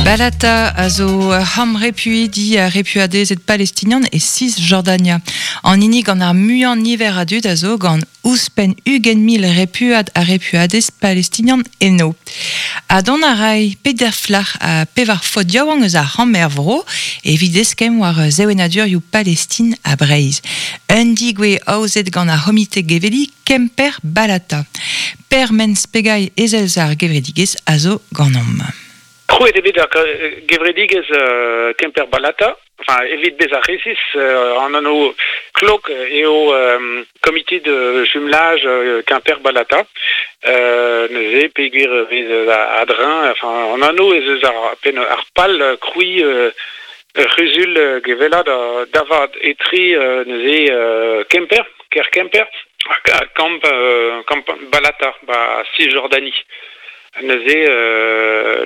Balata a zo ur c'hamp repuidi ha repuadezed palestinian e Cisjordania. An hini gant ar muiañ niver a dud a zo gant ouzhpenn 20,000 repuad ha repuadez palestinian eno. Ha dont a ray peder flac'h ha pevar faotr yaouank eus ar c'hamp er vro evit eskemm war sevenadurioù Palestin ha Breizh. Un degouezh aozet gant ar c'homite geveliñ Kemper Balata. Per Mens-Pegailh ezel eus ar gevredigezh a zo ganeomp. Krouet eo bet ar gevredigezh Kemper Balata, enfin evit bezañ resis, an anv klok eo Comité de jumelage Quimper Balata. Neuze peogwir e vez a-dreñv, enfin an anv ez eus ar penn ar pal krouiñ ur c'huzul gevellañ da vat etre neuze Kemper, kêr Kemper, ha kamp kamp Balata 'ba Cisjordanie. Neuze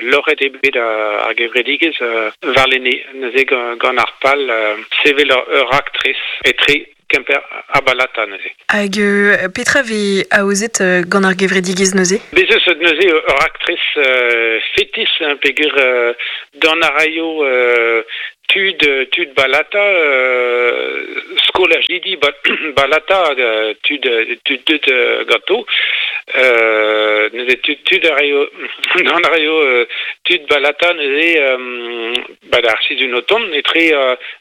loc'het eo bet ar gevredigezh warlene neuze gant ar pal sevel ur raktres etre Kemper ha Balata neuze. Hag petra vez aozet gant ar gevredigezh neuze? Bez eus neuze ur raktres fetis peogwir dont a raio tud tud Balata, skolajidi Balata hag tud tud deut ganto. Neuze tud tud a raio gant a raio tud Balata neuze ba d'ar sizhun o tont etre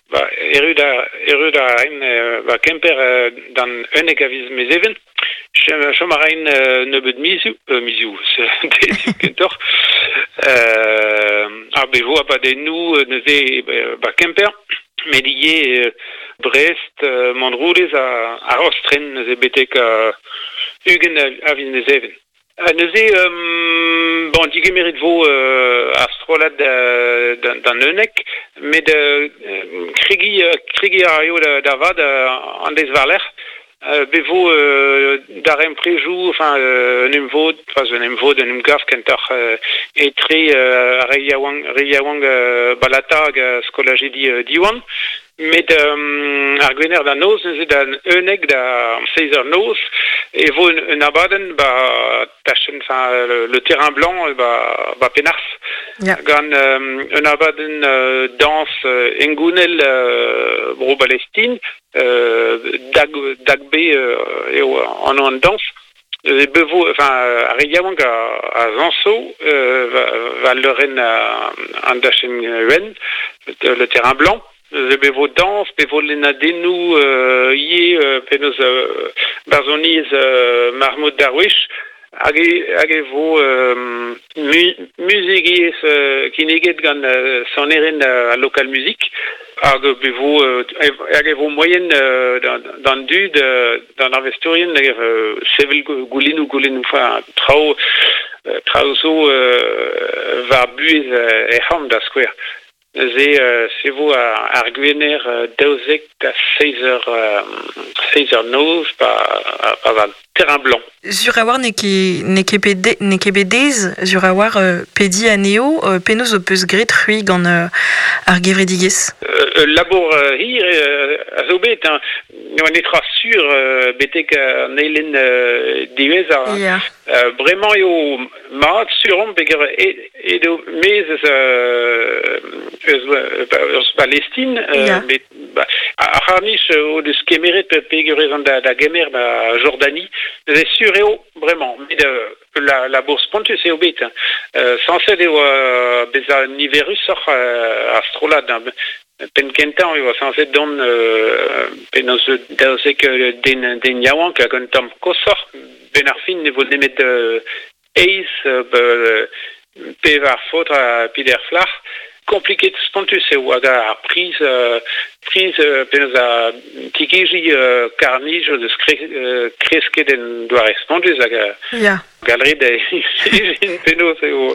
ba erru da erru da raint ba Kemper d'an 11 a viz Mezheven. Chom a raint nebeut mizioù, mizioù, deizioù kentoc'h. Ar bevo abadennoù neuze ba Kemper, met ivez Brest, Montroulez ha Rostren neuze betek 20 a viz Mezheven. Ha neuze, bon, digemeret vo ar strollad d'an 11, met kregiñ kregiñ a raio da vat an deiz war-lerc'h. Bet vo darempredoù, enfin un emvod, pas un emvod, un emgav kentoc'h etre ar re yaouank, re yaouank Balata hag skolajidi Diwan. Met ar Gwener da noz, neuze da 11 da seizh eur noz, e vo un abadenn 'ba tachenn, enfin le terrain blanc 'ba 'ba Penars. Gant un abadenn dañs hengounel Bro-Balestin, dag dagbe eo anv an dañs. E bevo, enfin ar re yaouank a zañso war leurenn an dachenn wenn, le terrain blanc. Neuze bevo dañs, bevo lennadennoù ivez penaos barzhoniezh Mahmoud Darwish hag hag e vo muzigiezh kinniget gant sonerien al lokal muzik hag e vo hag e vo moaien d'an dud d'an arvestourien sevel goulennoù goulennoù enfin traoù traoù zo war buhez er c'hamp da skouer. Neuze se vo ar Gwener 12 da seizh eur seizh eur noz pa pa va terrain blanc. Sur a-walc'h n'eo ket n'eo ket bet n'eo ket bet aes sur a-walc'h pediñ anezho. Penaos ho peus graet c'hwi gant ar gevredigezh? Ul labour hir a zo bet hein. Ne oa netra sur betek an eilenn diwezhañ. Ya. Bremañ eo mat sur omp peogwir edo maez eus eus eus Palestin met ar c'harr-nij o deus kemeret peogwir ez an da gemer da Jordanie. Neuze sur eo bremañ met la labour spontus eo bet. Sañset eo bezañ niverusoc'h ar strollad. Penn-kentañ e oa sañset dont penaos 12 den den yaouank hag un tamm koshoc'h. Benn ar fin ne vo nemet eizh pevar faotr ha peder flac'h. Kompliket spontus eo hag ar priz priz penaos a tigejiñ karr-nij o deus kresket en doare spontus hag galred ijin penaos eo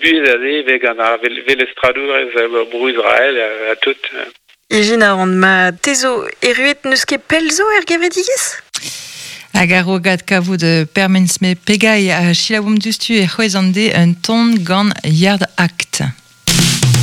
buhez aze vez gant ar velestradourez bro Israel ha tout. Ijin a ran ma te zo erruet n'eus ket pell zo er gevredigezh? Hag a-raok kavout Permens me pegailh a selaouomp diouzhtu e c'hwezh an de un ton gant Yard Act.